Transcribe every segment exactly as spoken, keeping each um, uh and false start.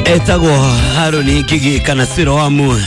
Etagwo Haruni Ngigi kana Siroamu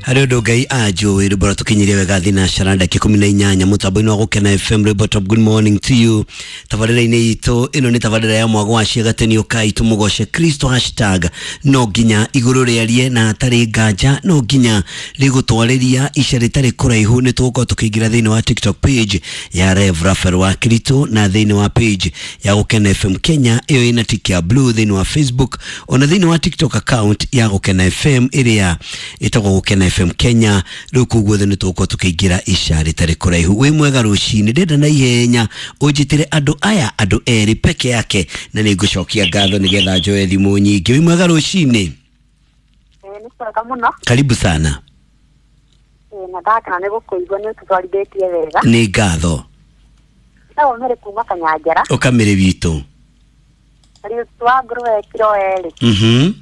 harä å ndå Ngai anjå rwä tå wega thinacara ndagä ikå na inyanya må tambo-inä wa gå kena F M rwĩmbo top. Good morning to you. Tabarĩra-inĩ itũ ĩno nĩ tabarĩra ya mwago wa ciagateni ũkai tũmũgoce Kristo hashtag no nginya igũrũ rĩarie na hatarĩ nganja no nginya rĩgũtwarĩria ica rĩtarĩ kũraihu. Nĩ tũgũkorwo tũkĩingĩra thĩinĩ wa TikTok page ya Rev Raphael wa Kristo na thĩinĩ wa page ya Gũkena F M Kenya ĩyo ĩna tick ya blue thĩinĩ wa Facebook ona thĩinĩ wa TikTok account ya Gũkena F M ĩrĩa ĩtagwo Gũkena F M Kenya. Rĩu koguo nĩ tũgũkorwo tũkĩingĩra ica rĩtarĩ kũraihu. Wĩ mwega rũcinĩ, ndĩrenda na ihenya ũnjĩtĩre andũ aya andũ erĩ peke yake na nĩ ngũcokia ngatho nĩgetha njoe thimũ nyingĩ. Wĩ mwega rũcinĩ? Nĩ kwega mũno. Karibu sana. Na ndakena nĩ gũkũigua nĩ ũtũtwarithĩtie wega. Nĩ ngatho. Ndagwo Mary kuma Kanyanjara. Ũkamĩrĩ witũ. Riũti wa ngũrũwe kiro erĩ. Mhm.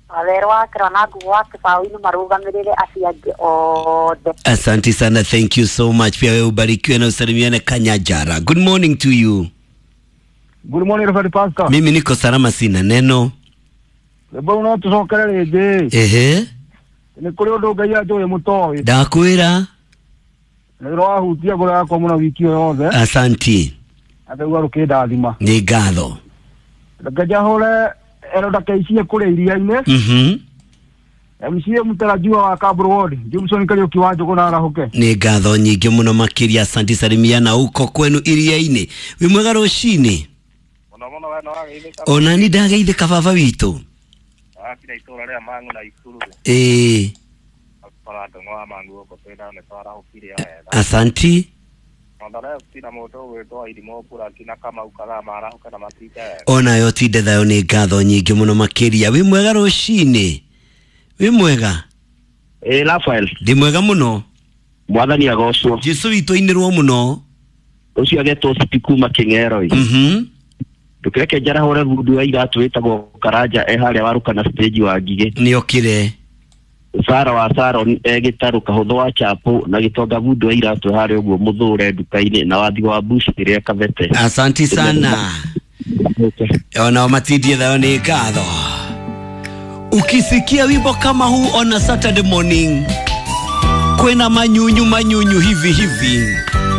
Wawero wa kiro na nguo wa kĩbaũ-inĩ marũgamĩrĩre acio angĩ othe. Asante sana, thank you so much. Pia wewe ubarikiwe na usalimiane Kanyanjara. Good morning to you. Good morning Reverend Pastor. Mimi niko salama, sina neno. Rĩmwe no tũcokere rĩngĩ. Ehe. Nĩ kũrĩ ũndũ Ngai anjũĩ mũtoĩ. Ndakwĩra. Nĩ ũrahutia ngoro yakwa mũno wiki ĩyo yothe. Asanti. Athaigua rũkĩndathima. Nĩ ngatho. Reke njahũre Eroda K C kũrĩa iria-inĩ. Mhm. M C A mũtarajiwa wa Kaburu Ward, Jameson Kariuki wa Njũgũna arahũke. Nĩ ngatho nyingĩ mũno makĩria. Asanti, salimiana huko kwenu iria-inĩ. Wĩ mwega rũcinĩ? Mũno mũno we no wageithĩka. Ona ni ndageithĩka baba witũ. Wakira itũra rĩa Mang'u na Ikuru. Ĩĩ. Bara ndũng'ũ wa Mang'u gũkũ twĩna nĩ twarahũkire wega. Asanti. Ona mũndũ ũgwĩtwo Irimũ Buraki na Kamau Kathaa marahũke na matinde wega. Onayo tinde thayũ. Nĩ ngatho nyingĩ mũno makĩria. Wĩ mwega rũcinĩ? Wĩ mwega? Ĩ Raphael. Ndĩ mwega mũno. Mwathani agocwo. Jesu witũ ainĩrwo mũno. Ũcio agetwo Sipi kuma Kĩng'ero. Mhm. Ndũkĩreke njarahũre bundu wa iratũ ĩtagwo Karanja e harĩa warũkana stage wa Ngigĩ. Nĩokire. Sara wa Saron e gĩtarũ kahũthũ wa Chapo na gĩtonga bundu wa iratũ harĩa ũguo mũthũre nduka-inĩ na wathi wa Bush ĩrĩa Kabete. Asanti sana. Ona matindie thayũ. Nĩ ngatho. Ukisikia wimbo kama huu on a Saturday morning, kwena manyunyu manyunyu hivi hivi.